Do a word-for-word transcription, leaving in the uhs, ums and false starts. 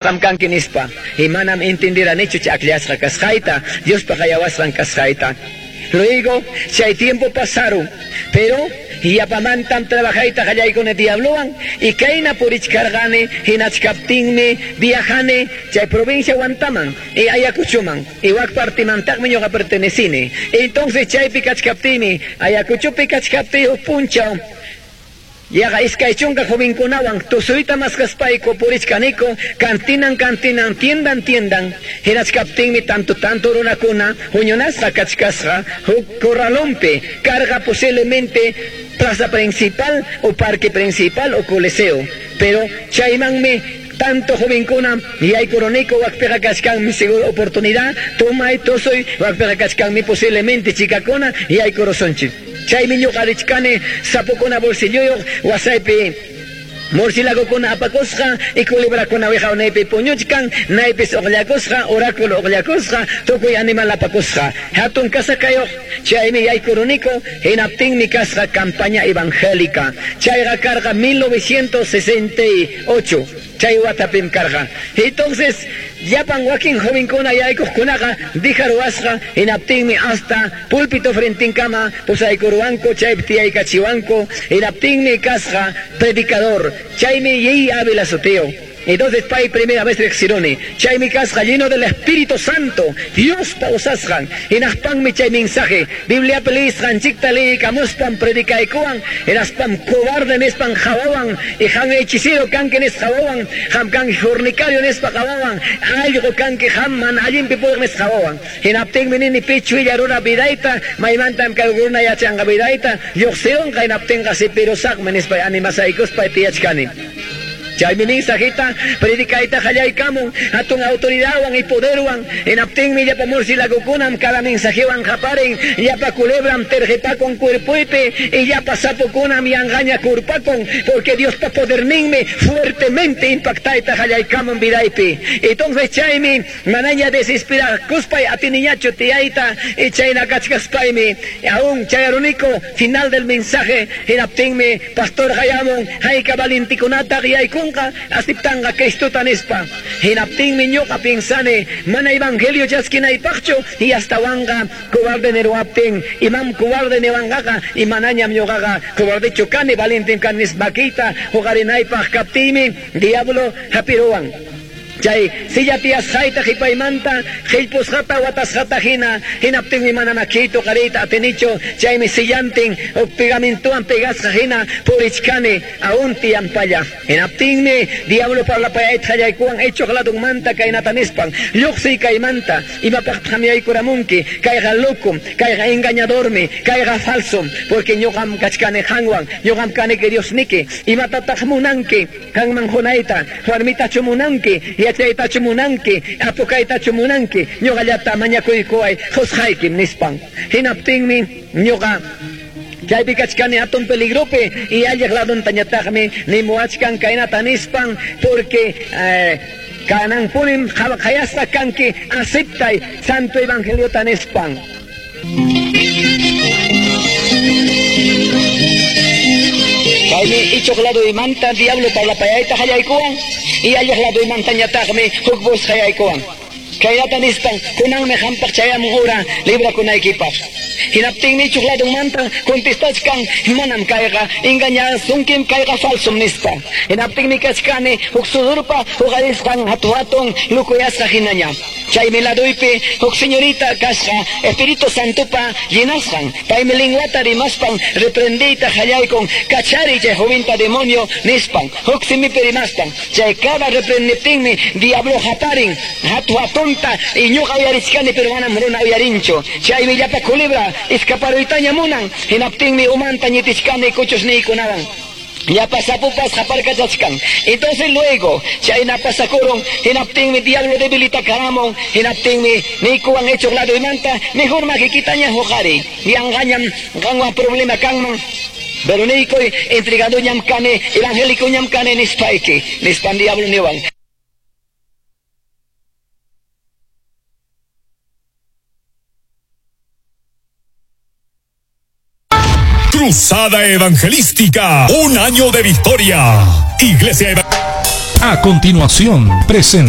Kanki nispa y manam entendiranichu ch'akllashqa kasqayta, Diospa qayawasqan kasqayta. Luego chay tiempo pasaron, pero yapamantam trabajayta qallaykuni diablowan y kayna purichkarqani hinachkaptinmi viajani chay provincia Huantaman y Ayacuchoman y wak partimantaqmi ñuqa pertenecini. Entonces chaypi kachkaptiymi Ayacuchopi kachkaptiy huk punchaw yaqa iskay chunka jovenkunawan tusuyta maskaspayku purichkaniku cantinan cantinan tiendan tiendan hinachkaptinmi tanto tanto runakuna huñunasqa kachkasqa huk corralonpi carga posiblemente plaza principal o parque principal o coliseo, pero chaymanmi tanto jovenkuna yaykuruniku wakpiqa kachkanmi seguro oportunidad tumay tusuy wakpiqa kachkanmi posiblemente chikakuna yaykurusunchik. Chaymi ñuqa richkani sapukuna bolsilloyuq wasaypi murciélagokuna apakusqa y culebrakuna wiqawnaypi puñuchkan naypis uqllakusqa oráculo uqllakusqa tukuy animal apakusqa hatun kasakayuq chaymi yaykuruniku hinaptinmi kasqa campaña evangélica chayqa karqa mil novecientos sesenta y ocho chay watapim karqa. Entonces llapan wakin jovenkuna yaykuqkunaqa dijaruwasqa hinaptinmi hasta púlpito frentinkama pusaykuruwanku chaypi tiyaykachiwanku hinaptinmi kasqa predicador chaymi Yey Ávila sutiyuq. Entonces pay primera vez riqsiruni chaymi kasqa lleno del Espíritu Santo Diospa usasqan hinaspanmi chay mensaje Bibliapi liyisqanchikta liyikamuspan predicaykuwan hinaspam cobarde nispan qawawan y qam hechicero kanki nispa qawawan qam kanki fornicario nispa qawawan allqu kanki qam mana allinpi puriq nispa qawawan hinaptinmi nini pichuilla runa vidayta maymantam kay runa yachanqa vidayta lluqsirunqa hinaptinqa sipirusaqmi nispa animasaykuspa tiyachkani. Chaymi mensajita predicayta qallaykamun hatun autoridadwan y poderwan hinaptinmi llapa murciélagokunam cada mensajewan qaparin llapa culebram terjepakun cuerpoypi y llapa sapokunam yanqaña kurpakun porque Diospa poderninmi fuertemente impactayta qallaykamun vidaypi. Entonces chaymi manaña desesperakuspay atiniñachu tiyayta y chayna kachkaspaymi aún chayaruniku final del mensaje hinaptinmi pastor qayamun hayka valentikunata yaykun aceptanqa Cristuta nispa hinaptinmi ñuqa piensani mana evangelio chaskinaypaqchu y astawanqa cobarde niruwaptin imam cobarde niwanqaqa y manañam ñuqaqa cobardechu kani valientem kani nispa huqarinaypaq kaptiymi diablo hapiruwan. Chay silla tiyasqayta qipaymanta qillpusqata watasqata hina hinaptinmi mana makiyta qariyta atinichu chaymi sillantin huk pegamentowan pegasqa hina purichkani aún tiyampalla hinaptinmi diablo parlapayayta qallaykuwan ichuq ladunmanta kaynata nispan lluqsiy kaymanta imapaqtaq yaykuramunki kayqa locom kayqa engañadormi kayqa falsom porque ñuqam kachkani qanwan ñuqam kaniki Diosniki imatataq munanki qanman qunayta warmitachu munanki yachaytachu munanki apukaytachu munanki ñuqallata mañakuykuway qusqaykim nispan hinaptinmi ñuqa chaypi kachkani hatun peligropi y alliq laduntañataqmi nimuwachkan kaynata nispan porque eh, kananpunim qhayasqa kanki aceptay santo evangeliota nispan. Chaymi ichuq laduymanta diablo parlapayayta qallaykuwan y alliq laduymantañataqmi huk voz qallaykuwan kaynata nispan kunanmi qampaq chayamun hora librakunaykipaq hinaptinmi ichuq ladunmanta contestachkan manam kayqa engañasunkim kayqa falsum nispa hinaptinmi kachkani huk sudurpa huqarisqan hatu hatun lukuyasqa hinaña chaymi laduypi huk señorita kasqa Espíritu Santopa llenasqan paymi linguata rimaspan reprendiyta qallaykun kachariy chay jovinta demonio nispan huk simipi rimaspan chay cada reprendiptinmi diablo haparin hatu hatunta y ñuqa uyarichkani pero manam runa uyarinchu chaymi llapa culebra escaparuytaña munan hinaptinmi umanta ñitichkani kuchusniykunawan llapa sapupas qaparkachachkan. Entonces luego chayna pasakurun hinaptinmi diablo debilitakaramon hinaptinmi niykuwan ichuq laduymanta mejor makikitaña huqariy yanqañam qanwan problema kanman pero niykuy entregaduñam kani evangélicoñam kani nispayki nispan diablo niwan. Cruzada Evangelística, un año de victoria. Iglesia Evangélica. A continuación, presenta